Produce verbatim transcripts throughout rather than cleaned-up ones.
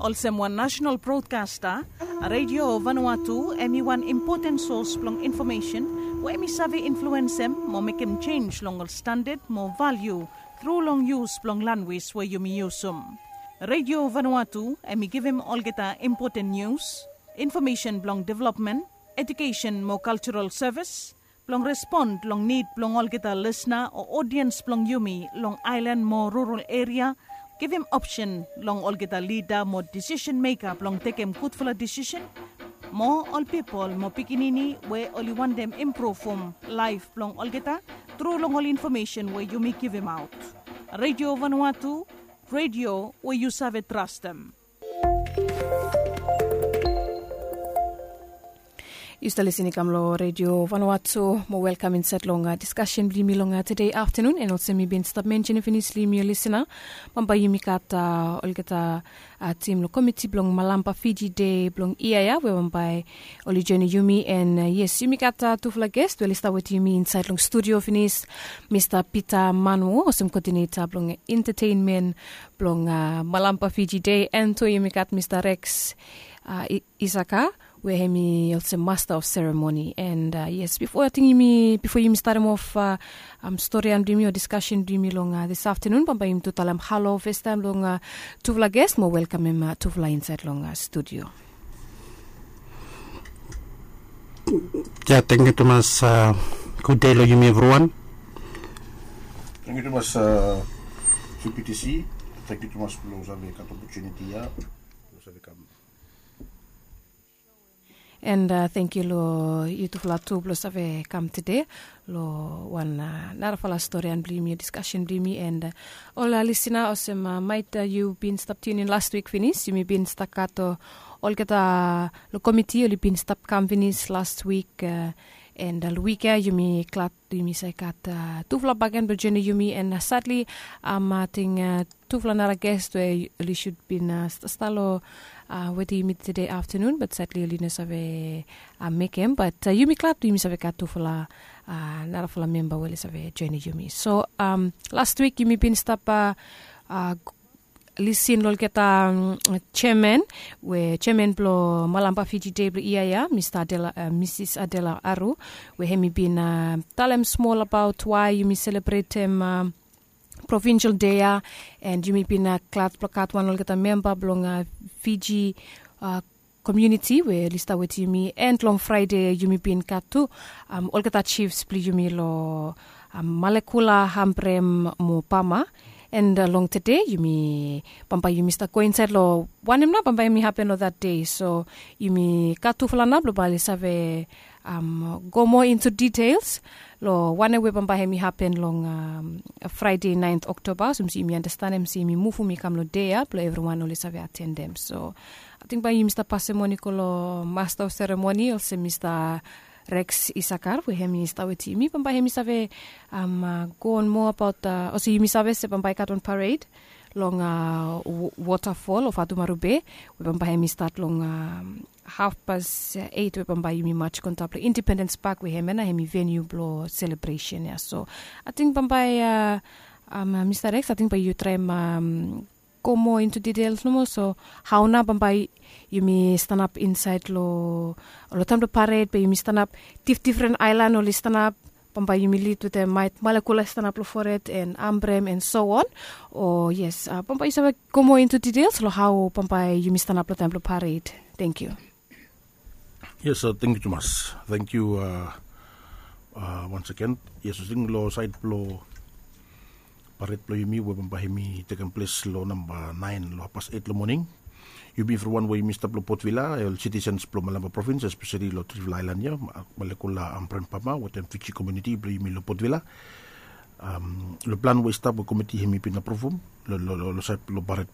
Olsem wan nasenal brodkasta, Radio Vanuatu hem i wan impoten sos blong infomesen we hem i save influensem mo mekem jenj long ol standad mo valiu tru long yus blong lanwis we yumi yusum. Radio Vanuatu hem i givim olgeta impoten nius, infomesen blong developmen, ejukesen mo kaljaral sevis, blong respon long nid blong olgeta lisna o odiens blong yumi long aelan mo rural eria, givim opsen long olgeta lida mo disisen meka blong tekem gudfala disisen, mo ol pipol mo pikinini we oli wantem impruvum laef blong olgeta tru long ol infomesen we yumi givimaot. Radio Vanuatu, radio we yu save trastem. Yu stap lisin i kam long Radio Vanuatu, mo welkam insaed long diskasen blong yumi long tede aftanun. An olsem mi bin stap mensenem finis long yumi ol lisina, bambae yumi gat olgeta tim long komiti blong Malampa Fiji Dei blong yia ya we bambae oli joenem yumi. An yes, yumi gat tufala ges we oli stap wetem yumi insaed long studio finis, Mista Pita Manwo olsem koodineta blong entetenmen blong Malampa Fiji Dei, an tu yumi gat Mista Rex Isaka we hem i olsem masta of seremoni. An yes, bifo ating yumi bifo yumi statem of storian blong yumi o diskasen blong yumi long dis aftanun, bambae yumi tu talem halo fastaem long tufala ges mo welkamem tufala insaed long studio. Ya, tangkiu tumas. Gud dei long yumi evriwan. Tangkiu tumas. Tangkiu tumas blong save gat opotuniti ya blong save kam. An tangkiu long yutufala tu blong save kam tede long wan narafala storian blong yumi o diskasen blong yumi. An ol lisina, olsem maet yu bin stap tiunin las wik finis, yumi bin stap gat olgeta long komiti oli bin stap kam finis las wik. An long wik ya yumi glad yumi save gat tufala bakegen blong joenem yumi. An sadli ating tufala nara ges we oli sud bin stap long wetem yumi tede aftanun, bat sadli oli no save mekem. Bat yumi glad yumi save gat tufala narafala memba we oli save joenem yumi. So las wik yumi bin stap lisin long olgeta jeaman we jeaman blong Malampa Fiji Dei blong yia ya, Mista Adela, Misis Adela Aru, we hem i bin talem smol abaot wae yumi selebretem provinsel dei ya. An yumi bin glad blong gat wan olgeta memba blong Fiji komuniti we oli stap wetem yumi. An long Fraede yumi bin gat tu olgeta jifs blong yumi long Malekula, Ambrem mo Pama. An long tede yumi bambae yumi stap go insaed long wanem nao bambae hem i hapen long that dei. So yumi gat tufala nao blong bae oli save go moa into details long wanem we bambae hem i hapen long Fraede naent Oktoba, olsem se yumi andastanem se yumi muvum i kam long dei ya blong evriwan oli save atendem. So ating bae yumi stap pasem moni go long masta of seremoni olsem Mista Rex Isakar we hem i stap wetem yumi, bambae hem i save go on moa abaot olsem yumi save se bambae i gat wan pared long wotafol o Fatumaru Be, we bambae hem i stat long hafpas eit we bambae yumi maj go antap long Independens Pak we hemia nao hem i veniu blong selebresen ya. So ating bambae Mista Rex, ating bae yu traem go moa into details nomo. So hao nao bambae yumi stanap insaed long taem blong pared, bae yumi stanap, difdifren aelan oli stanap, bambae yumi lid wetem maet Malekula i stanap long fored an Ambrem an so on. O yes, bambae yu save go moa into details long hao bambae yumi stanap long taem blong pared. Tangkiu. Yes, tangkiu tumas. Tangkiu. Once again, yes, ating long saed blong pared blong yumi we bambae hem i tekem ples long namba naen long hafpas eit long moning. Yumi evriwan we yumi stap long Port Vila, ol sitisens blong Malampa provins, espeseli long trifala aelan ya, Malekula, Ambrem, Pama wetem Fiji komuniti blong yumi long Port Vila. Long plan we i stap we komiti hem i bin apruvum long saed blong pared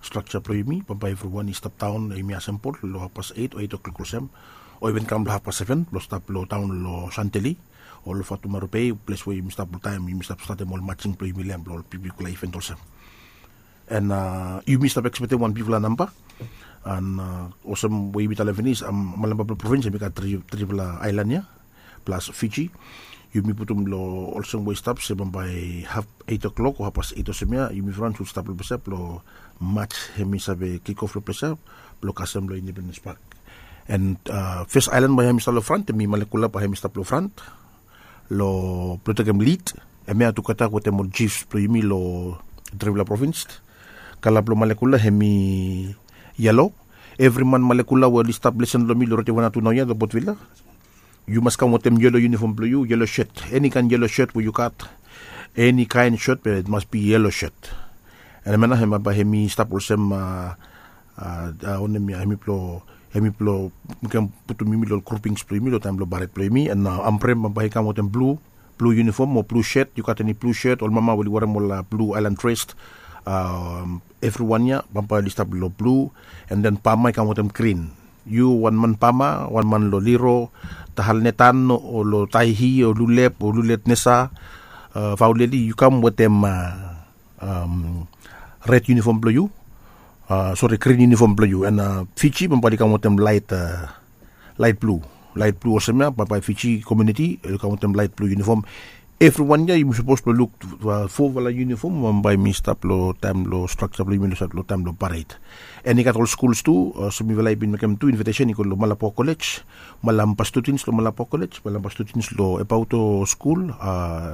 strakja blong yumi, bambae evriwan i stap daon, yumi asembol long hafpas eit o eit oklok olsem, o iven kam long hafpas seven blong stap long taon long Santeli o long Fatumaru Be, ples we yumi stap oltaem, yumi stap statem ol majing blong yumi long hem blong ol bigbigfala iven olsem. An yumi stap ekspektem wan bigfala namba. An olsem we yumi talem finis, Malampa blong provins hem i gat trifala aelan ya. plus Fiji. Yumi putum long olsem we i stap se bambae haf eit o'klok o hafpas eit olsem ya yumi frans wi stap long ples ya blong mats hemi save kikof long ples ya blong kasem long Independens Pak. And fes aelan bae hemi stap long frant hemi Malekula bae hemi stap long frant long blong tekem lid. Hemia tugeta wetem ol jifs blong yumi long Trivila provins. Kala blong Malekula hemi yelo. Evri man Malekula we oli stap lesen long mi long redio wanatu naoia long Potvila, yu mas kam wetem yelo yunifom blong yu, yelo shet, eni kaen yelo shet we yu gat. Eni kaen shet be mas bi yelo shet. And hemia nao hemia bae hemi stap olsem a a wanem ya hemi blong hemi blong mi ken putum yumi long ol grupings blong yumi long taem blong baret blong yumi. And a ambrem bambae i kam wetem blu blu yunifom o blu shet, yu gat eni blu shet, ol mama we oli werem ol blu aelan dres. Evriwan ya bambae oli stap long blu. And then pama i kam wetem grin. Yu wan man pama, wan man long liro, tahal netan o long taihi o lulep o lulet nesa, fauleli yu kam wetem red yunifom blong yu, sori, grin yunifom blong yu. And Fiji bambae oli kam wetem laet laet blu laet blu olsem ya bambae Fiji komuniti oli kam wetem laet blu yunifom. Evriwan ya yumi sapos blong luk fofala yunifom bambae mi stap long taem long straksa blong yumi long sait long taem long paret. And i gat ol skuls tu, olsem mifala i bin mekem tu invetesen i go long Malapua Kolej. Malampa studens long Malapua Kolej, Malampa studens long Ebauto skul,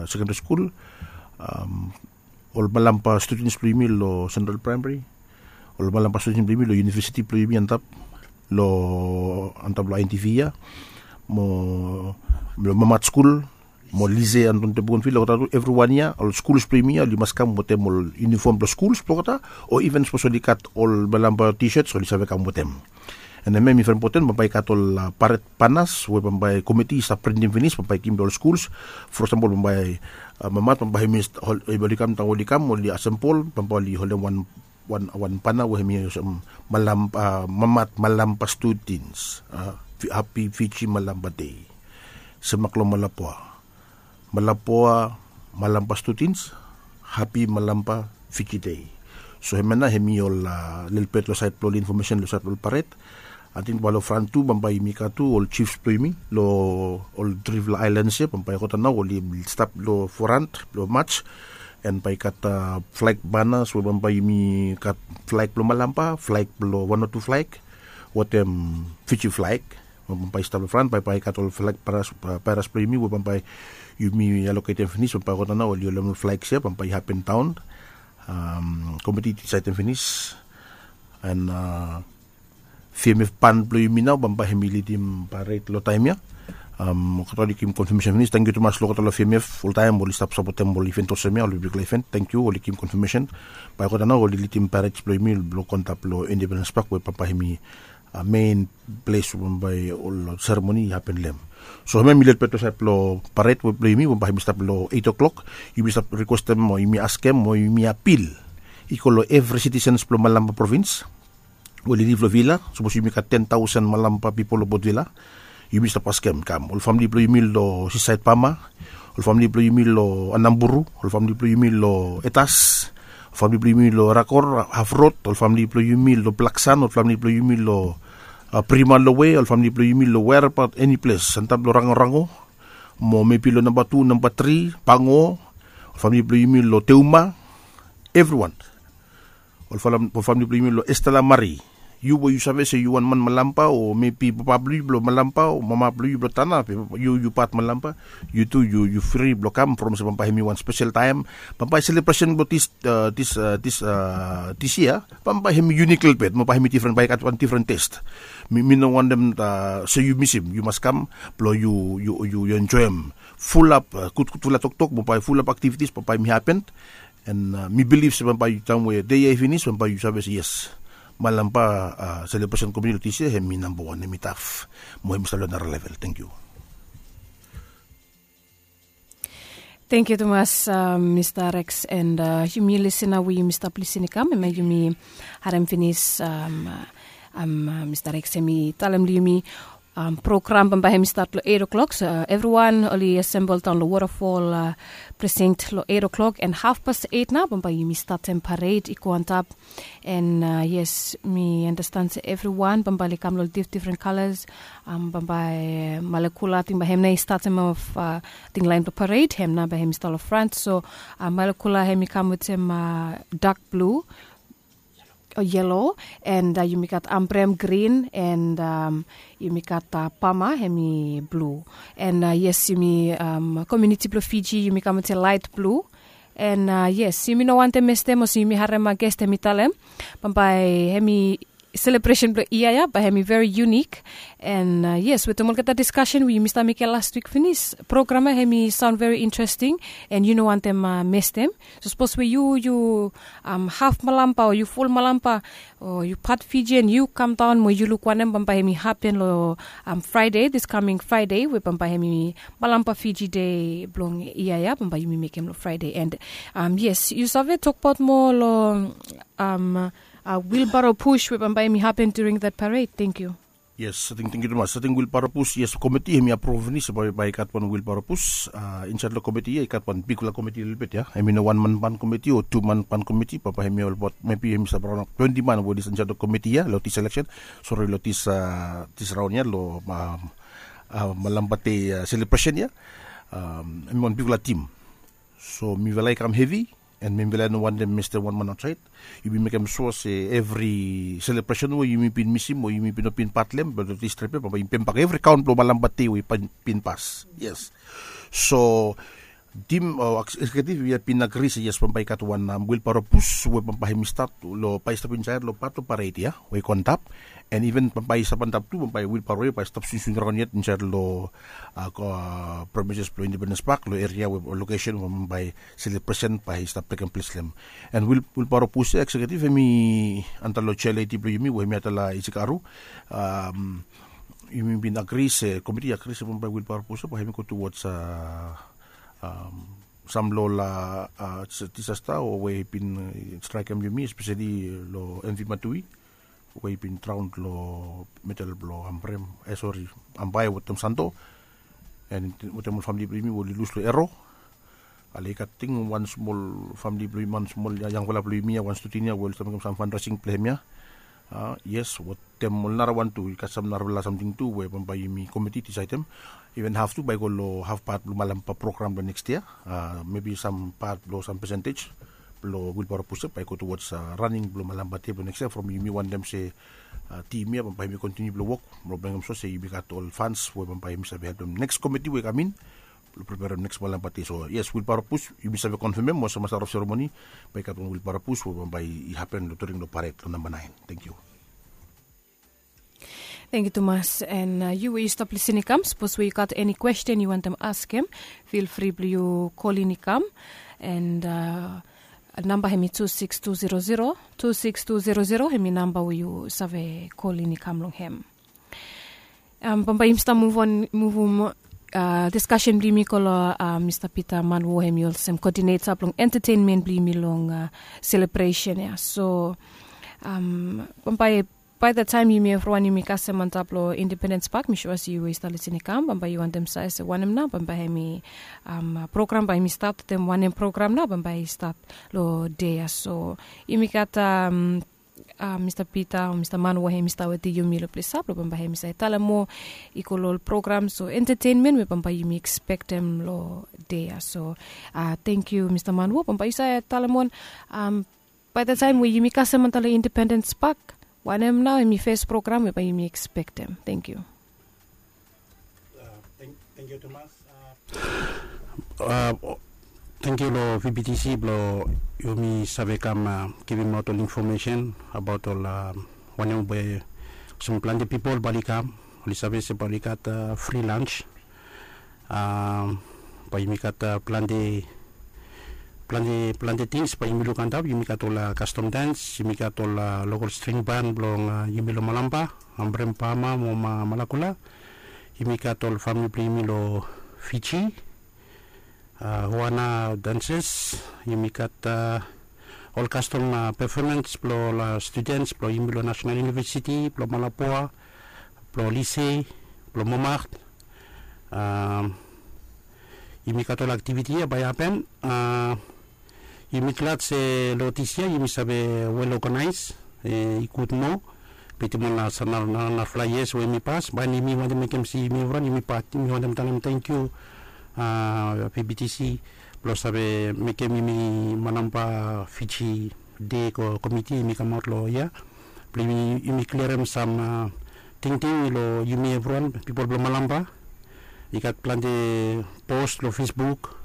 sekendri skul, ol Malampa studens blong yumi long Sentral Praemari, ol Malampa studens blong yumi long yunivesiti blong yumi antap long antap long INTV ya, mo long Mamat skul, mo Lise Anton Tebogenvil, olgeta tu evriwan ya ol skuls blong yumi ya oli mas kam wetem ol yunifom blong skuls blong olgeta, o iven sapos oli gat ol Malampa T-shirts oli save kam wetem. And hemia i very important bambae i gat ol paret banas we bambae komiti i stap printim finis bambae i givim long ol skuls. For example bambae Mamat bambae hemi oli kam taem oli kam oli asempol bambae oli holem wan wan wan bana we hemi olsem Malampa, Mamat Malampa studens, hapi Fiji Malampa dei. Semak long Malapua, Malapua Malampa studens, hapi Malampa Fiji dei. So hemia nao hemi ol lelebet long sait blong ol infomesen long sait blong ol paret. Ating bae long fran tu bambae yumi gat tu ol jifs blong yumi long ol trifala aelans ya bambae olgeta nao oli stap long forant blong mats. And bae i gat flag banas we bambae yumi gat flag blong Malampa, flag blong wan o tu flag wetem Fiji flag. Bambae i stap long fran bae bae i gat ol flag banas blong yumi we bambae yumi aloketem finis bambae olgeta nao oli holem ol flags ya bambae i hapen daon. Komiti i disaitem finis. And VMF ban blong yumi nao bambae hemi lidim paret long taem ya. Olgeta oli givim konfamesen finis. Tangkiu tumas long olgeta long VMF oltaem oli stap sapotem ol iven olsem ya, ol bigfala iven. Tangkiu, oli givim konfamesen. Bae olgeta nao oli lidim paret blong yumi blong go antap long Independens Pak we bambae hemi mein ples we bambae ol seremoni i hapen long hem. So hemia hemi lelebet long sait blong paret we blong yumi bambae hemi stap long eit o'klok. Yumi stap rikwestem o yumi askem o yumi apil i go long evri sitisens blong Malampa provins we oli liv long Vila. Sapos yumi gat ten taosen Malampa pipol long Potvila, yumi stap askem kam ol famili blong yumi long Sisaed Pama, ol famili blong yumi long Anamburu, ol famili blong yumi long Etas, ol famili blong yumi long Rakor, Hafrod, ol famili blong yumi long Blaksan, ol famili blong yumi long Prima Lowe, ol famili blong yumi long wereabaot eni ples antap long Rangorango, mo mebi long namba tu, namba tri, Pango, ol famili blong yumi long Teuma, evriwan. Ol famili blong yumi long Estela Mari, yu we yu save se yu wan man Malampa o mebi papa blong yu blong Malampa o mama blong yu blong Tana be yu yu pat Malampa, yu tu yu fri blong kam from se bambae hemi wan spesel taem. Bambae selebresen blong dis dis dis yia bambae hemi yunik lelebet, bambae hemi difren, bae i gat wan difren test. Mi no wantem se yu misim, yu mas kam blong yu yu yu enjoem fulap gudgudfala toktok bambae fulap aktivitis bambae hemi hapen. And mi bilif se bambae taem we dei ya i finis bambae yu save se yes, Malampa selebresen komiti long dis yia hemi namba wan, hemi taf mo hemi stap long nara level. Tangkiu. Tangkiu tumas Mista Rex. And yumi lisin nao we yumi stap lisin i kam hemia yumi harem finis Mista Rex hemi talem long yumi Program bambae hem i stat long eight o'clock, so evriwan oli asembol daon long waterfall precinct long eight o'clock, and hafpas eight nao bambae yumi statem pared i go antap. And yes, mi andastan se evriwan bambae oli kam long difdifren kalas. Bambae malekula ating bae hem nao i statem of ating laen blong pared, hem nao bae hem i stat long frant. So malekula hem i kam wetem dak blu o yelo, and yumi gat ambrem grin, and yumi gat pama hem i blu. And yes, yumi komiuniti blong Fiji yumi kam wetem laet blu. And yes, yumi no wantem mestem olsem yumi harem ges hem i talem bambae hem i selebresen blong yia ya bae hem i veri yunik. And yes, wetem olgeta diskasen we yumi stap mekem las wik finis, program ya hem i saon veri interesting, and yu no wantem mestem. So sapos we yu yu haf malamba o yu ful malamba o yu pat Fijian, yu kamdaon mo yu luk wanem bambae hem i hapen long Friday, this coming Friday, we bambae hem i malamba Fiji Day blong yia ya bambae yumi mekem long Friday. And yes, yu save tokbaot moa long wheelbarrow push we bambae hem i hapen during that parade. Thank you. Yes, ating thank you tumas. Ating wheelbarrow push, yes, komiti hem i apruv finis bae i gat wan wheelbarrow push. Insaed long komiti ya i gat wan bigfala komiti lelebet ya. Hem i no wan man pan komiti o tu man pan komiti, bambae hem i olbaot mebi hem i stap raon twenti man we oli insaed long komiti ya long this election, sori, long this raon ya long malamba dei selebresen ya. Hem i wan bigfala tim. So mifala i kam hevi, and mifala i no wantem mestem wan man aotsaed. Yumi mekem sua se evri selebresen we yumi bin misim o yumi bin no bin pat long hem, be long this trip ya bambae yumi pembak evri kaon blong malamba dei we i bin pas. Yes. So tim o ekseketif ya bin agri se yes, bambae i gat wan wheelbarrow push we bambae hem i stat long bae i stap insaed long pat blong pared ya we i go antap. And even bambae i stap antap tu, bambae wheelbarrow ya bae i stap swingswing raon yet insaed long premises blong Independence Park long eria we lokesen we bambae selebresen bae i stap tekem ples long hem. And wheelbarrow push ya, ekseketif hem i anda long chair lady blong yumi we hem i anda long Isikaru. Yumi bin agri se, komiti i agri se bambae wheelbarrow push ya bae hem i go towards sam long ol disasta o we i bin straekem yumi, espeseli long M V Matui we i bin draon long medel blong ambrem, e sori, ambae wetem santo, and wetem ol famili blong yumi we oli lus long ero. Ale i gat ting wan smol famili blong yumi, wan smol yangfala blong yumi ya, wan studen ya we oli stap mekem sam fundraising blong hem ya. Yes, wetem ol narawan tu i gat sam narafala samting tu we bambae yumi komiti i disaedem. Iven haf tu bae i go long hafpat blong malamba program blong next yia. Mebi sam pat blong sam pesentej blong wheelbarrow push ya bae i go towards raning blong malamba dei blong next yia, from yumi wantem se tim ya bambae yumi kontiniu blong wok blong mekem sua se yumi gat ol funds we bambae yumi save helpem next komiti we i kam in blong preperem next malamba dei. So yes, wheelbarrow push yumi save konfemem olsem master of ceremony, bae i gat wan wheelbarrow push we bambae i hapen long during long pared long namba naen. Thank you. Thank you tumas. And yu we yu stap lisin i kam, sapos we yu gat eni kwesten yu wantem askem, feel free blong yu kolin i kam. And namba hem i two six two zero zero, two six two zero zero hem i namba we yu save kolin i kam long hem. Bambae yumi stap muvum diskasen blong yumi go long Mista Peter Manwo, hem i olsem kodineta blong entetenmen blong yumi long selebresen ya. So bambae bae da taem yumi evriwan yumi kasem antap long Independens Pak, mi sua se yu we yu stap lisin i kam, bambae yu wantem save se wanem nao bambae hem i program bae yumi stat wetem, wanem program nao bambae i stat long dei ya. So yumi gat Mista Peter o Mista Manwo hem i stap wetem yumi long ples ya blong bambae hem i save talem moa i go long ol program o entetenmen we bambae yumi ekspektem long dei ya. So tangkiu Mista Manwo, bambae yu save talem moa bae da taem we yumi kasem antap long Independens Pak, wanem nao hem i fes program we bae yumi ekspektem? Tangkiu. Tangkiu long V B T C blong yumi save kam givimaot ol infomesen abaot ol wanem we olsem plante pipol bae oli kam, oli save se bae oli gat fri lans. Bae yumi gat plante, plante, plante tings bae yumi luk antap. Yumi gat ol kastom dans, yumi gat ol lokol string ban blong yumi long Malampa, Ambrem, Pama mo Malakula. Yumi gat ol famili blong yumi long Fiji, Huana danses. Yumi gat ol kastom pefomans blong ol studens blong yumi long Nasenal Univesiti blong Malapua, blong Lise, blong Momaht. Yumi gat ol aktiviti ya bae i hapen. Yumi glad se long dis yia yumi save wel oganaes. I gud moa bitim ol narafala yias we yumi pas, bae yumi wantem mekem se yumi evriwan yumi pat. Yumi wantem talem tangkiu PBTC blong save mekem yumi manamba Fiji Day komiti yumi kamaot long yia blong yumi klirim sam tingting long yumi evriwan pipol blong Malampa. I gat plante pos long Facebook,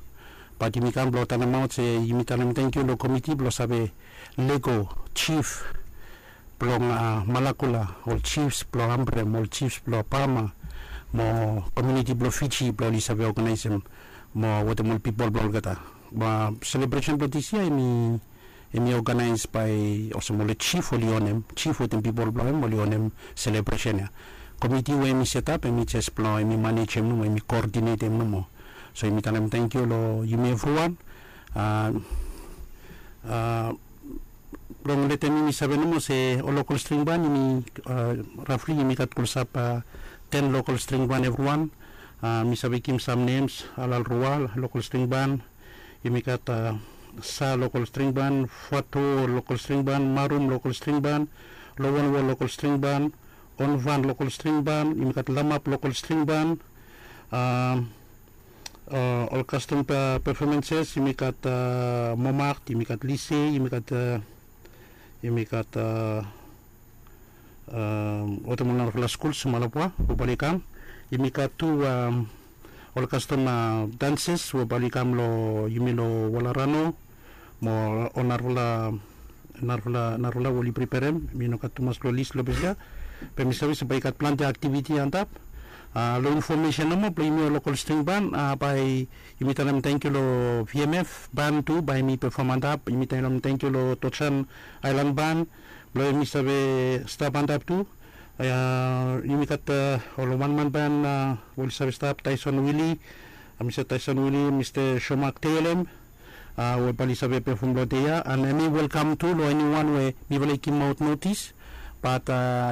bat yumi kam blong talemaot se yumi talem tangkiu long komiti blong save lego jif blong Malakula, ol jifs blong Ambrem, ol jifs blong Pama, mo komiuniti blong Fiji blong oli save oganaesem mo wetem ol pipol blong olgeta. Selebresen blong dis yia em i oganaes bae olsem ol jif oli onem, jif wetem pipol blong hem oli onem selebresen ya. Komiti we em i setap em i jes blong em i manejem nomo, em i koodinetem nomo. So yumi talem tangkiu long yumi evriwan. Long letem yumi save nomo se ol lokol stringban yumi rafli yumi gat klosap ten lokol stringban evriwan. Mi save givim sam nems, Alalrua lokol stringban, yumi gat Sa lokol stringban, Fato lokol stringban, Marum lokol stringban, Lowanwo lokol stringban, Onvan lokol stringban, yumi gat Lamap lokol stringban. Ol kastom perfomenses yumi gat Momaht, yumi gat Lise, yumi gat yumi gat wetem ol narafala skul Sumalapua we bae oli kam. Yumi gat tu ol kastom danses we bae oli kam long yumi long Walarano mo ol narafala narafala we oli priperem. Mi no gat tumas long lis long ples ya, be mi save se bae i gat plante aktiviti antap. Long infomesen nomo blong yumi ol lokol stringban, bae yumi talem tangkiu long VMF ban tu bae yumi pefom antap. Yumi talem tangkiu long Tojan Aelan ban blong yumi save stap antap tu. Yumi gat ol wanman ban we oli save stap, Taison Wili, Mista Taison Wili, Mista Shomak Telem, we bae oli save pefom long dei ya. An hem i welkam tu long eniwan we mifala i givimaot notis. Bat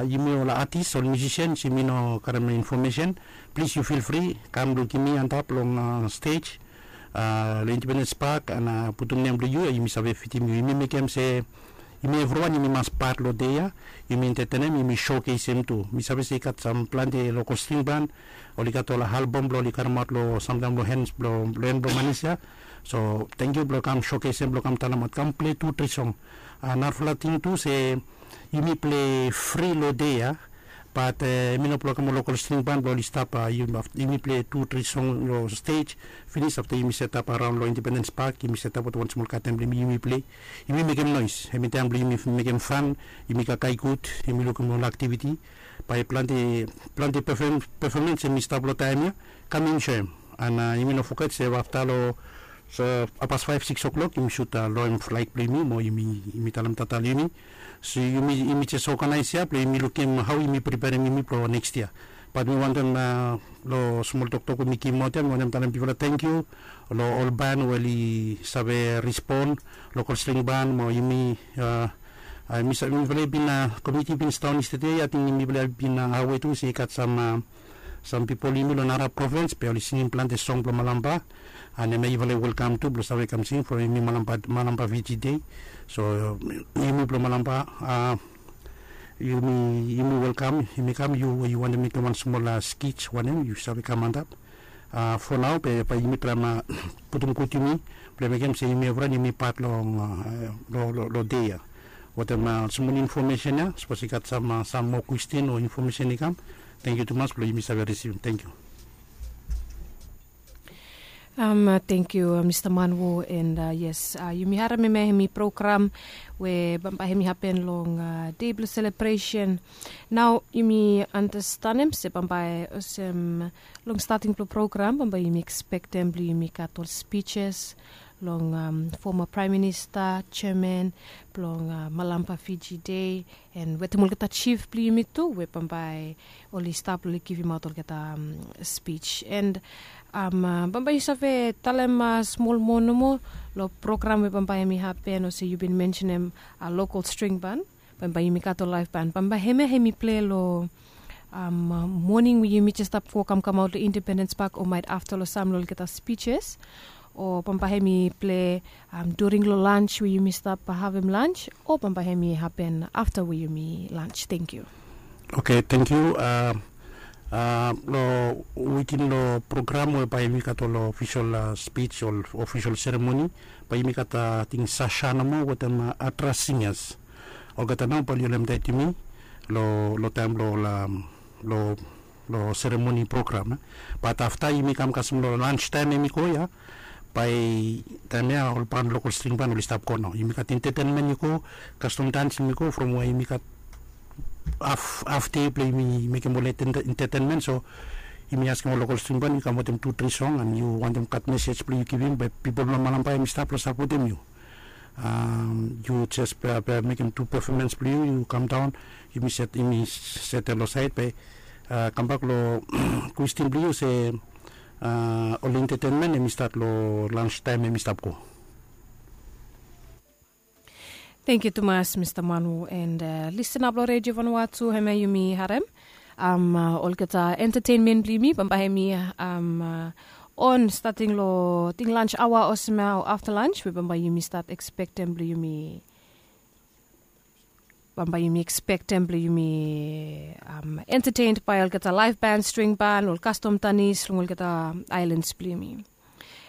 yumi ol atis, ol miusisians, yumi no karem infomesen. Plis yu fil fri kam lukim mi antap long stej long Independens Pak an putum nem blong yu, yumi save fitim yu. Yumi mekem se yumi evriwan yumi mas pat long dei ya. Yumi entetenem, yumi showcasem tu. Mi save se i gat sam plante lokol stringban oli gat ol albom blong oli karemaot long samtaem long hen blong manis ya. So tangkiu blong kam showcasem, blong kam talemaot, kam pilei tu tri song. Narafala ting tu se yumi pilei fri long dei ya, bat yumi no blong kam ol lokol stringban blong oli stap. Yumi pilei tu tri song long stej. Finis afta yumi setap araon long Independens Pak, yumi setap wetem wan smol katen blong yumi, yumi pilei, yumi mekem noes. Hem i taem blong yumi mekem fan, yumi kakae gud, yumi lukim ol aktiviti. Bae plante plante pefomens hem i stap long taem ya. Kam enjoem. An yumi no foget se afta long hapas faef sikis oklok yumi sut loem flag blong yumi mo yumi talem tata long yumi. So yumi jes oganaes ya blong yumi lukim hao yumi priperem yumi blong neks yia. Bat mi wantem long smol toktok we mi givimaot ya, mi wantem talem bifala tangkiu long ol ban we oli save respon, lokol stringban mo yumi. Mifala i bin, komiti i bin sidaon yestede ya, ating mifala i bin awe tu se i gat sam sam pipol yumi long nara provins be oli singim plante song blong Malampa. An hem ya yufala i welkam tu blong save kam sing from yumi Malampa Fiji Dei. So yumi blong Malampa, yumi welkam, yumi kam, yu we yu wantem mekem wan smol skij wanem, yu save kam antap. Fo nao be bae yumi traem putum gud yumi blong mekem se yumi evriwan yumi pat long long dei ya. Wetem smol infomesen ya, sapos i gat sam sam moa kwestin o infomesen i kam, tangkiu tumas blong yumi save risivim. Tangkiu. Tangkiu Mista Manwo. And yes, yumi harem hemia hemi program we bambae hemi hapen long dei blong selebresen. Nao yumi anastenem se bambae olsem long stating blong program bambae yumi ekspektem blong yumi gat ol spijs long foma praem minista, jeaman blong Malampa Fiji Dei, and wetem olgeta jif blong yumi tu we bambae oli stap long oli givimaot olgeta spij. And bambae yu save talem smol moa nomo long program we bambae hemi hapen olsem yu bin mensenem lokol string ban, bambae yumi gat ol laef ban, bambae hemia hemi pilei long moning we yumi jes stap go kamkamaot long Independens Pak, o maet afta long sam long olgeta spijes, o bambae hem i ple during long lans we yumi stap havem lans, o bambae hem i hapen afta we yumi lans. Tenkyu. Oke, tenkyu. Long wikin long program we bae yumi gat ol ofisol spij, ol ofisol seremoni, bae yumi gat ating Sasha nomo wetem Atras Singas. Olgeta nao bae oli holem taet yumi long taem long long seremoni program. Bat afta yumi kam kasem long lans taem hem i go ya, bae taem ya ol ban lokol string ban oli stap go nao. Yumi gat entetenmen i go, kastom dans hem i go, from we yumi gat haf dei blong yumi mekem ol entetenmen. So yumi askem ol lokol string ban i kam wetem tu tri song, and yu wantem gat mesej blong yu givim bae pipol blong Malampa hem i stap long sapotem yu. Yu jes mekem tu pefomens blong yu, yu kam daon, yumi set yumi setel long saed bae kambak long kwestin blong yu se ol entetenmen hem i stat long lans taem hem i stap go. Tenkyu tumas Mista Manu, and listenap long Redio Vanua tu, hemia yumi harem olgeta entetenmen blong yumi bambae hem i on stating long ting lans aoa olsem ya o afta lans we bambae yumi stat ekspektem blong yumi bambae yumi ekspektem blong yumi entetened bae olgeta laef ban, string ban, ol kastom tanis long olgeta aelans blong yumi.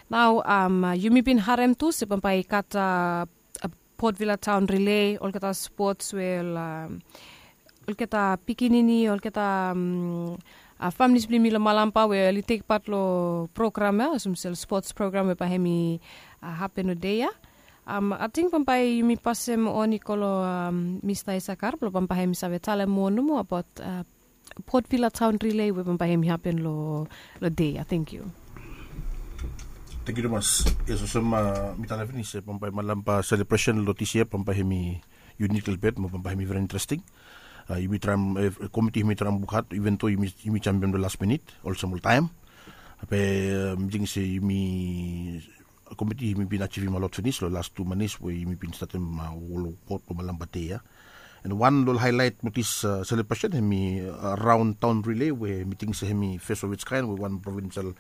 Nao yumi bin harem tu se bambae i gat Port Vila Taon Relay, olgeta spots we ol olgeta pikinini, olgeta familis blong yumi long Malampa we oli tekpat long program ya olsem se ol spots program we bae hem i hapen long dei ya. Ating bambae yumi pasem on i go long Mista Isakar blong bambae hem i save talem moa nomo abaot Port Vila Taon Relay we bambae hem i hapen long dei ya. Tenkyu. Tenkyu tumas. Yes, olsem mi talem finis se bambae Malampa selebresen long dis yia bambae hem i unik lelebet mo bambae hem i veri interesting. Yumi traem, komiti hem i traem wok had, iven do yumi jampiam long las minit olsem oltaem. Be mi ting se yumi komiti hem i bin ajivim a lot finis long las tu manis we yumi bin statem wol wok blong Malampa dei ya. And wan long haelaet blong dis selebresen hem i raon taon relay we mi ting se hem i fes of its kaen we wan provinsel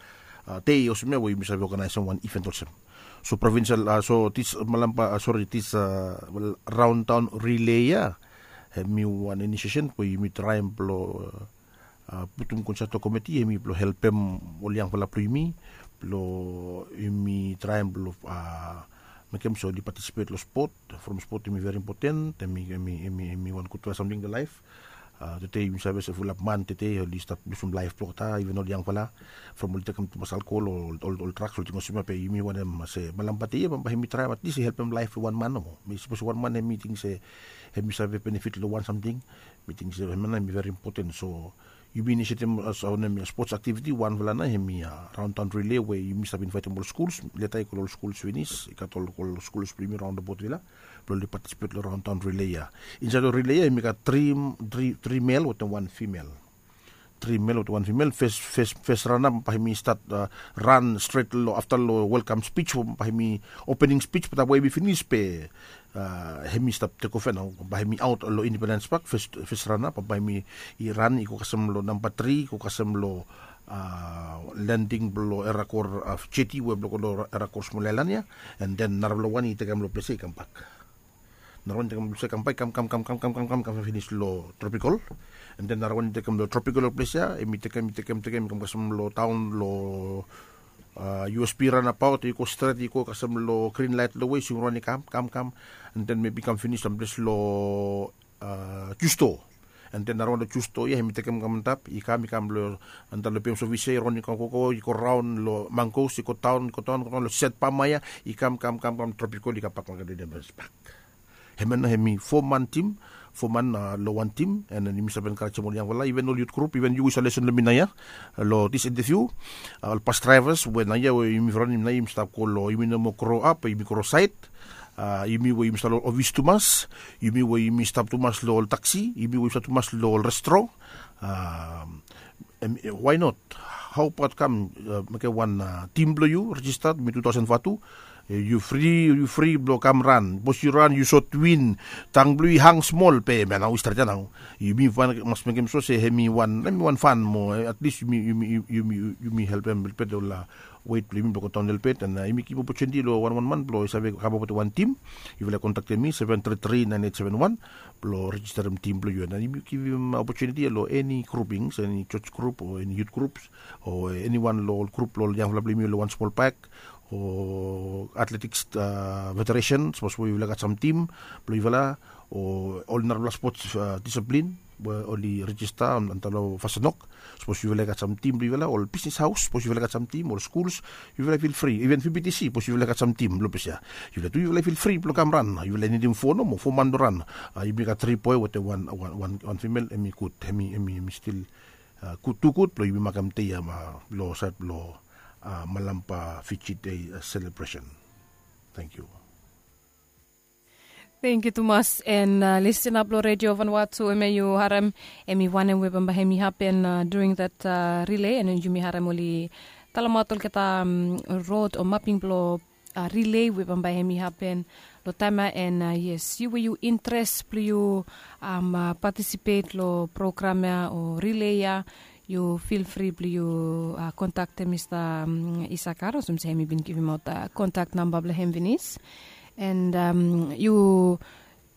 dei olsem ya we yumi save oganaesem wan iven olsem. So provinsel, so dis Malampa, sori, dis raon taon relay ya hem i wan inisiesen we yumi traem blong putum konsalto komiti hem i blong helpem ol yangfala blong yumi blong yumi traem blong mekem se oli patisipet long spot. From spot hem i veri impoten, hem i wan gudfala samting long laef. Tede yumi save se fulap man tede oli stap lusum laef blong olgeta, iven ol yangfala, from oli tekem tumas alkohol o ol draks, ol ting olsem ya. Be yumi wantem se Malampa dei ya bambae hem i traem atlis i helpem laef blong wan man nomo. Mi sapos wan man hem i ting se hem i save benefit long wan samting, mi ting se hemia nao hem i veri impoten. So yumi inisiatem as wanem ya spots aktiviti, wanfala nao hem i raon taon relay we yumi save invaetem ol skuls. Leta i go long ol skuls finis, i gat ol skuls blong yumi raon long Port Vila blong oli patisipet long raon taon relay ya. Insaed long relay ya hem i gat tri mel wetem wan fimel. Tri mel wetem wan fimel. Fes rana bambae hem i stat ran stret long afta long welkam spij, bambae hem i opening spij, be taem we hem i finis be hem i stap tekof ya nao. Bambae hem i aot long Independens Pak, fes rana bambae hem i ran i go kasem long namba tri, i go kasem long lending blong Erakor jeti we blong go long Erakor smol aelan ya. And then narafala wan i tekem long ples ya i kambak. Narawan i tekem long ples ya i kambak, i kam kam kam kam kam kam kam kam finis long Tropikol. And then narawan i tekem long Tropikol long ples ya, hem i tekem, i tekem, tekem i kam kasem long taon long U S P ranabaot, i go stret, i go kasem long grin laet long we i swing raon i kam kam kam. And then maybe i kam finis long ples long Justo. And then narawan long Justo ya hem i tekem kam antap, i kam, i kam long antap long P M Service ya, i raon i kam gogo, i go raon long Mangos, i go daon, i go daon, go daon long Set Pama ya, i kam kam kam kam Tropikol, i kambak long Independens Pak. Hemia nao hem i fo man tim, fo man long wan tim. And then yumi save enkarejem ol yangfala, iven ol yut grup, iven yu we yu save lesen long mi naoia long dis interviu. Ol bas draevas we naoia we yumi raonem naoia, yumi stap go long, yumi no moa gro ap, yumi gro saed. Yumi we yumi stap long ofis tumas, yumi we yumi stap tumas long ol taksi, yumi we yumi stap tumas long ol restro. Why not? Hao abaot kam mekem wan tim blong yu rejista, mi tu taosen vatu. Yu fri, yu fri blong kam ran. Sapos yu ran yu sot win, tang blong yu i hang smol be hemia nao i stret ia nao. Yumi wan mas mekem so se hemi wan, hemi wan fan mo, at least yumi, yumi, yumi, yumi helpem lelebet ol wet blong yumi blong godaon lelebet. And yumi givim opotuniti long wan wan man blong i save kamap wetem wan tim. Yufala i kontaktem mi seven three three nine eight seven one blong rejisterem tim blong yu. And yumi givim opotuniti long eni groupings, eni church group o eni youth groups o eni wan long ol grup blong ol yangfala blong yumi long wan smol pak o athletics federation, sapos we yufala i gat sam tim blong yufala o ol narafala sports disiplin we oli rejista antap long Fasenok. Sapos yufala i gat sam tim blong yufala, ol bisnis haos, sapos yufala i gat sam tim, ol skuls, yufala i fil fri, iven V B T C, sapos yufala i gat sam tim long ples ia, yufala tu yufala i fil fri blong kam ran. Yufala i nidim fo nomo, fo man blong ran. Yumi gat tri boe wetem wan, wan, wan fimel, hemi gud, hemi, hemi stil gud, tu gud blong yumi makem dei ia long saed blong Malampa Fiji Day selebresen. Tangkiu. Tangkiu tumas. And listener blong Redio Vanuatu, hemia yu harem, hemi wanem we bambae hemi hapen during that relay, and yumi harem oli talemaot olgeta rod o maping blong relay we bambae hemi hapen long taem ia. And yes, yu we yu interes blong yu patisipet long program ia o relay ia, yu fil fri blong yu kontaktem Mista Isakar olsem se hemi bin givimaot kontak namba blong hem finis. And yu,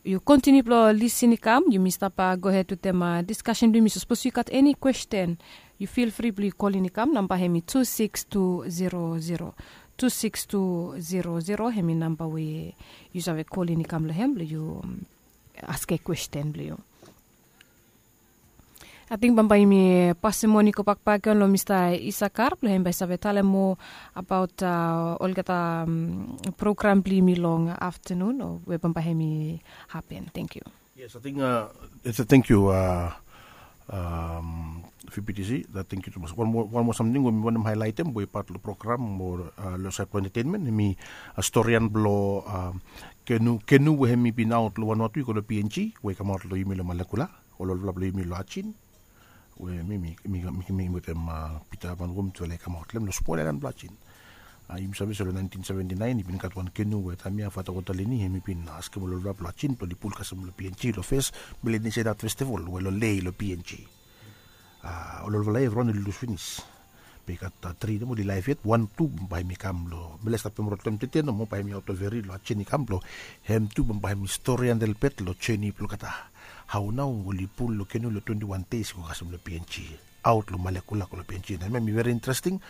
yu kontiniu blong lisin i kam, yumi stap gohed wetem diskasen blong yumi. So sapos yu gat eni kwesten, yu fil fri blong yu kolin i kam. Namba hemi tu sikis tu zero zero, tu sikis tu zero zero, hemi namba we yu save kolin i kam long hem blong yu askem kwesten blong yu. Ating bambae yumi pasem moni gobak bakegen long Mista Isakar blong hem bae i save talem moa abaot olgeta program blong yumi long aftenun o we bambae hemi hapen. Tangkiu. Yes, ating, tangkiu, V B T C, tangkiu tumas. Wan moa, wan moa samting we mi wantem haelaetem we i pat long program mo long saed blong entetenmen, hemi storian blong kenu, kenu we hemi bin aot long Vanuatu i go long P N G, we i kamaot long yumi long Malekula, ol olfala blong yumi long Ajin, we mi, mi, mi, mi wetem Pita Van Wom tufala i kamaot long hem long smol aelan blong Ajin. Yumi save se long naentin seventi naen i bin gat wan kenu we taem ia Fata Watalini hemi bin askem ol olfala blong Ajin blong oli pul kasem long P N G long fes Melanesian Art Festival we long Lae long P N G. Ol olfala ia evriwan oli lus finis. Be i gat tri nomo oli laef yet, wan tu bambae hemi kam long, mifala i stap pem rod long hem tede nomo, bae hemi aot long feri long Ajin i kam blong hem tu bambae hemi storian lelebet long jeni blong olgeta, hao nao oli pul long kenu long twenti wan deis i go kasem long P N G, aot long Malekula go long P N G. Na hemia hemi veri interesting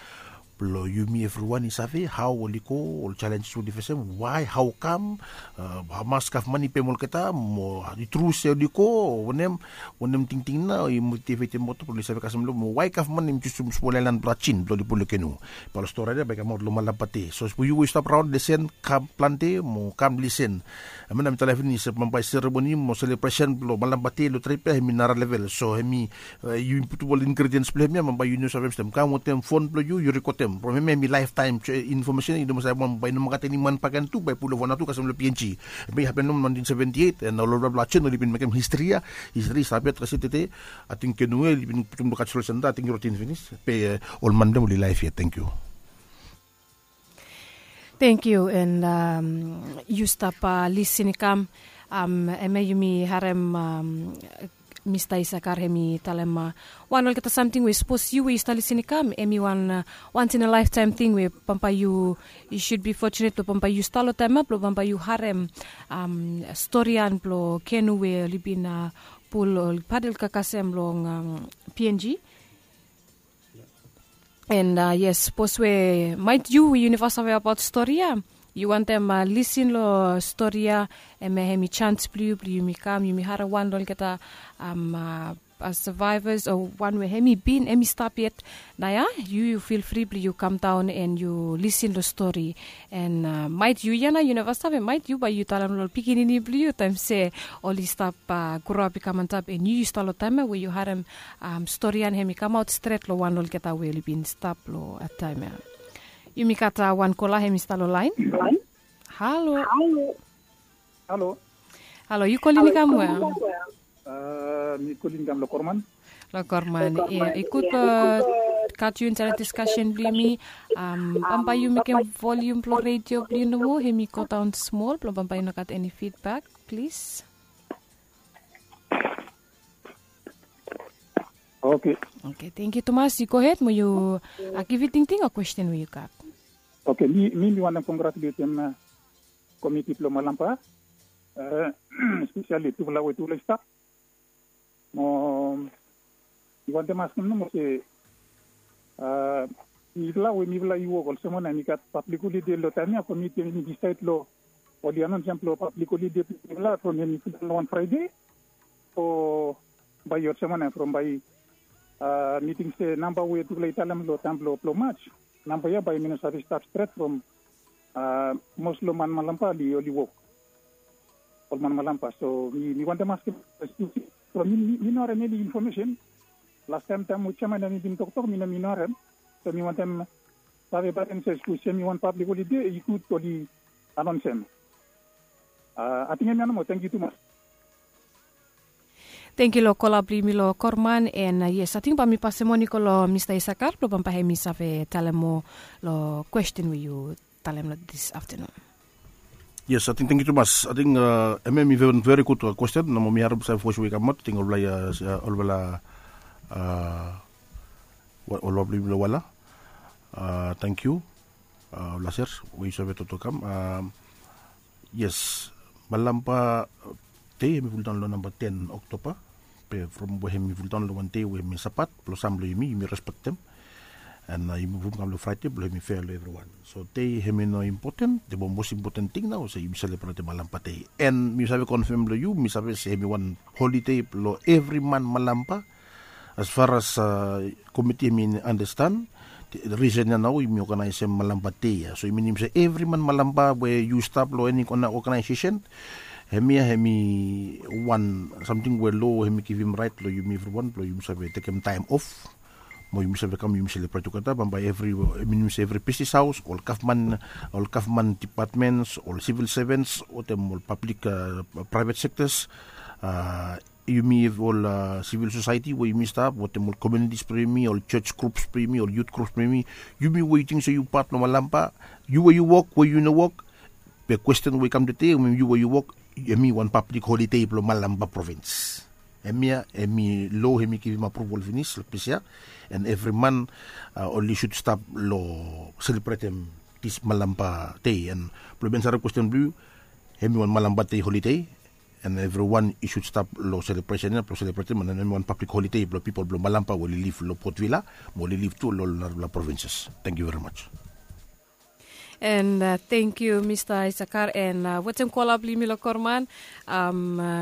blong yumi evriwan i save hao oli go, ol jalenjes we oli fesem, wae, hao kam, hamas gavman i pem olgeta, mo i tru se oli go o wanem, wanem tingting nao i motivetem olgeta blong oli save kasem long hem, mo wae gavman hemi jusum smol aelan blong Ajin blong oli pul long kenu. Bae ol storian ia bae i kamaot long Malampa Day. So sapos yu we yu stap raon, lisen, kam plante mo kam lisen. Hemia nao mi talem finis se bambae seremoni mo selebresen blong Malampa Day long trip ia hemi nara level. So hemi, yu putum ol ingredients blong hemia, bambae yu no save mistem. Kam wetem fon blong yu, yu rekodem. From hemia hemi laeftaem infomesen, yu no mas save wan, bambae i no mas gat eni man bakegen tu bae i pul long Vanuatu kasem long P N G. Hemia i hapen long naentin seventi eit, and ol olfala blong Ajin oli bin mekem histri ia, histri i stap yet kasem tede. Ating kenu ia oli bin putum long kaljarel senta, ating i rotin finis. Be ol man blong hem oli laef yet. Tangkiu. Tangkiu, and yu stap lisin i kam, hemia yumi harem Mista Isakar hemi talem wan olgeta samting we sapos yu we yu stap lisin i kam, hemi wan once in a lifetime ting we bambae yu, yu should be fortunate blong bambae yu stap long taem ia blong bambae yu harem storian blong kenu we oli bin pul, oli padel kasem long P N G. And yes, sapos we maet yu we yu neva save abaot stori ia, yu wantem lisin long stori ia, hemia hemi jans blong yu blong yumi kam, yumi harem wan long olgeta survivors o wan we hemi bin, hemi stap yet. Nao ia yu, yu fil fri blong yu kamdaon and yu lisin long stori. And maet yu ia nao yu neva save, maet yu bae yu talem long ol pikinini blong yu taem se oli stap groap i kam antap, and yu yu stap long taem ia we yu harem storian hemi kamaot stret long wan long olgeta we oli bin stap long taem ia. Yumi gat wan kola hemi stap long laen. Halo. Halo. Halo, yu kolin i kam we? Mi kolin i kam long Korman. Long Korman. Ia, i gud blong gat yu insait long diskasen blong yumi. Bambae yu mekem volium blong redio blong yu nomo, hem i go daon smol blong bambae yu no gat eni fidbak, plis. Oke. Oke, tengkiu tumas. Yu gohed mo yu givim tingting o kwesten we yu gat. Oke, mi mi wantem kongratuletem komiti blong Malampa, espeseli tufala we tufala i stap. Mo mi wantem askem nomo se mifala we mifala i wok olsem wanem, i gat pablik holide long taem ya, komiti hem i disaed long oli anonsem blong pablik holide blong mifala from hem i fuldaon long wan Fraede. O bae i olsem wanem, from bae mi ting se namba we tufala i talem long taem blong blong Maj, namba ya bae mi no save stap stret from mos long man Malampa oli wok. Ol man Malampa. So mi wantem askem, from mi no harem eni infomesen. Lastaem taem we jeaman hem i bin toktok mi no mi no harem. So mi wantem save bae hem se sapos hem i wan pablik holide i gud oli anonsem. Ating hemia nomo, tengkiu tumas. Tengkiu long kola blong yumi long Korman. And yes, ating bae mi pasem on i go long Mista Isakar blong bambae hem i save talem moa long kwesten we yu talem long dis aftanun. Yes, ating tengkiu tumas. Ating hemia hem i veri gud kwesten. Nomo mi harem sam vos we i kamaot, ating olfala olfala blong yumi long wala. Tengkiu. Ol laser we yu save toktok kam. Yes, Malampa Dei hem i fuldaon long namba ten Oktoba. Be from we hem i fuldaon long wan dei we hem i Sabat blong sam blong yumi, yumi respektem. And yumi muvum kam long Fraede blong hem i fea long evriwan. So dei hem i no impoten. Dei mos impoten ting nao se yumi selebretem Malampa Dei. And mi save konfem long yu, mi save se hem i wan holide blong evri man Malampa. As far as komiti hem i anastan, risen ya nao yumi oganaesem Malampa Dei ya. So i minim se evri man Malampa we yu stap long eni kona oganaesesen, hemia hem i wan samting we lo hem i givim raet long yumi evriwan blong yumi save tekem taem of mo yumi save kam yumi selebret tugeta. Bambae evri, i minim se evri bisnis haos, ol gavman, ol gavman dipatmens, ol sivil sevens, wetem ol pablik, praevet sektas, yumi ol sivil sosaeti we yumi stap wetem ol komiunitis blong yumi, ol jos grups blong yumi, ol yut grups blong yumi, yumi we yu ting se yu pat blong Malampa, yu we yu wok, we yu no wok, be kwesten we i kam tede, yu we yu wok, hem i wan pablik holide blong Malampa provins. Hemia hem i lo hem i givim apruval finis long ples ya. And evri man oli sud stap long selebretem dis Malampa Dei. And blong mi ansarem kwesten blong yu, hem i wan Malampa Dei holide. And evriwan i sud stap long selebresen ya blong selebretem, and hem i wan pablik holide blong pipol blong Malampa we oli liv long Port Vila mo oli liv tu long ol narafala provinses. Tengkiu verimaj. And tengkiu Mista Isakar. And wetem kola blong yumi long Korman,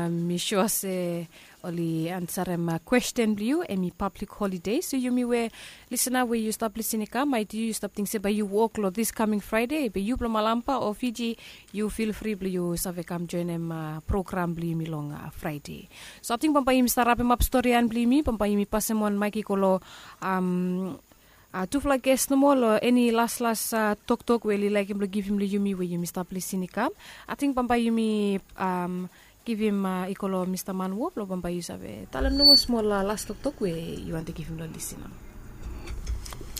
mi sua se oli ansarem kwesten blong yu, hem i pablik holide. So yumi we lisena we yu stap lisin i kam, maet yu yu stap ting se bae yu wok long dis kaming Fraede, be yu blong Malampa o Fiji, yu fil fri blong yu save kam joenem program blong yumi long Fraede. So ating bambae yumi stap rapemap storian blong yumi, bambae yumi pasem on maek i go long tufala ges nomo long eni laslas toktok we oli laekem blong givim long yumi we yumi stap lisin i kam. Ating bambae yumi givim i go long Mista Manwo blong bambae yu save talem nomo smol las toktok we yu wantem givim long lisina.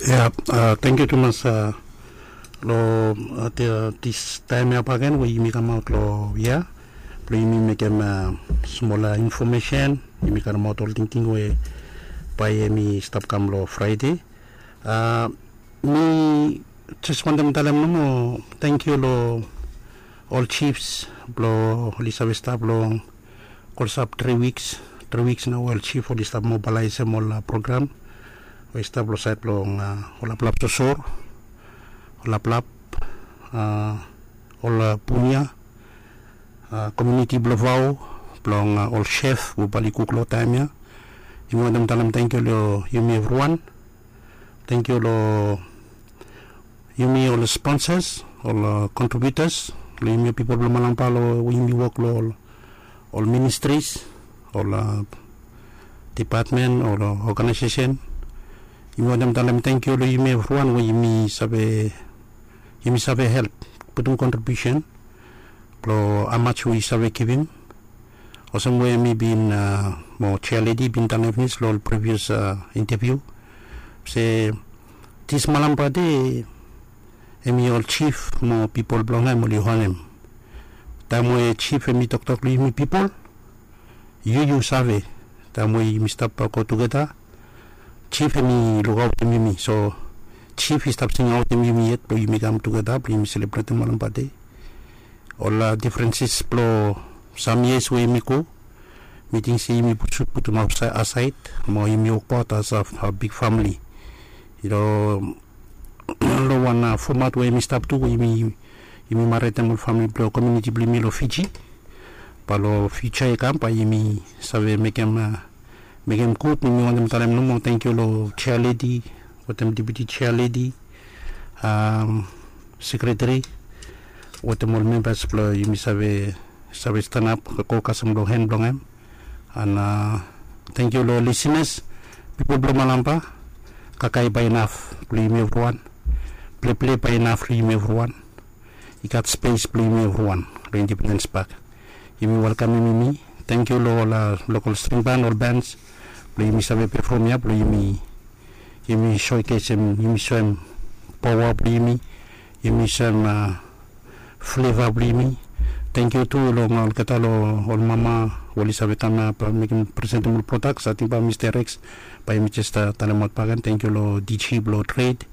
Ya, tengkiu tumas long dis taem ya bakegen we yumi kamaot long ya blong yumi mekem smol infomesen, yumi karemaot ol tingting we bae hem i stap kam long Fraede. Mi jes wantem talem nomo tengkiu long ol jifs blong oli save stap long klosap tri wiks, tri wiks nao ol jif oli stap mobalaesem ol program we i stap long saed blong ol laplap sosor, ol laplap, ol punia, komiuniti blong Vao, blong ol sef we bae oli kuk long taem ya. Yumi wantem talem tengkiu long yumi evriwan. Tengkiu long yumi ol sponsas, ol kontribiutas, long yumi ol pipol blong Malampa long we yumi wok long ol ministris, ol dipatmen, ol oganaesesen. Yumi wantem talem tengkiu long yumi evriwan we yumi save, yumi save help putum kontribiusen blong hamaj we yu save givim. Olsem we mi bin mo jealedi bin talem finis long ol privias inteviu, se, this Malampa Day, hemi ol chief mo pipol blong hem oli honem. Taem we chief hemi toktok long yumi pipol, yu yu save, taem we yumi stap go tugeta, chief hemi lukaotem yumi. So chief i stap singaotem yumi yet blong yumi kam tugeta blong yumi selebretem Malampa Day. Ol difrenses blong sam yias we yumi go, mi ting se yumi sud putum asaed mo yumi wokbaot as a big famili. Long wan fomat we yumi stap tu, we yumi maretem ol famili blong komuniti blong yumi long Fiji. Bae long fiuja i kam bae yumi save mekem mekem gud. Mi wantem talem nomo tangkiu long chair lady wetem deputy chair lady, sekreteri wetem ol membas blong yumi save save stanap go kasem long hen blong hem. An tangkiu long lisinas, pipol blong Malampa. Kakae bae inaf blong yumi evriwan. Pleple bae inaf long yumi evriwan. I gat spes blong yumi evriwan long Independens Pak. Yumi welkamem yumi. Tangkiu long ol lokol string ban, ol bens blong yumi save pefom ya blong yumi yumi soekesim, yumi soem paoa blong yumi, yumi soem fleva blong yumi. Tangkiu tu long olgeta long ol mama we oli save kam ya bae mekem presentem ol prodaks. Ating bae Mista Rex bae yumi jes talemaot bakegen. Tangkiu long diji blong tred